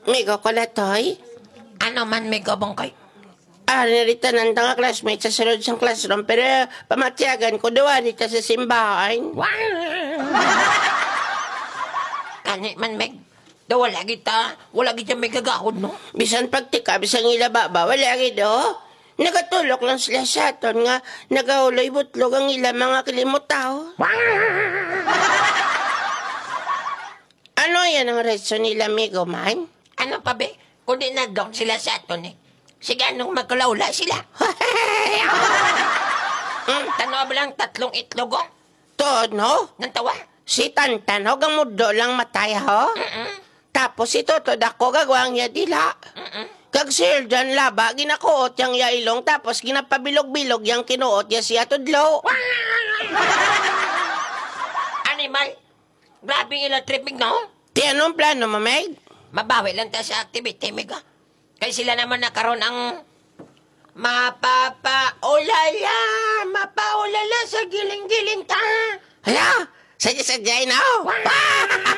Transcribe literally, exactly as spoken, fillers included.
Migo ko na, Toy. Ano man, Migo Bongkoy? Ari na dito ng mga classmates sa sulod sang classroom, pero pamatyagan ko, duwa dito sa simbahan. Kani man, Meg. Daw wala kita, wala kita may gagahod, no? Bisan pagtika, bisan ila baba, wala gid, oh. Nagatulok lang sila sa aton nga nagahuloy butlog ang ila mga kilimutaw. Ano yan ang reason nila, Migo man? Ano pa, be? Kundi nag-down sila sa aton, eh. Sige, anong magkulaula sila? Hmm, tanaw ba lang tatlong itlog, oh? Tuod, no? Nang tawa? Si Tantan, ho, gamudlo lang matay, ho? Mm-mm. Tapos si Toto Dako, gagwang niya dila. Mm-mm. Kag si Hildan Laba, ginakuot yang iya ilong, tapos ginapabilog-bilog yang kinuot niya siya tudlo. Animal! Grabe ang ilang trip, Mig, no? Ti, anong plano mo, Meg? Mabawi lang ta sa activity, Mig, ah. Kay sila naman na karon ang mapapaulala, mapaulala sa giling-giling ta. Hala, sadya-sadya, no?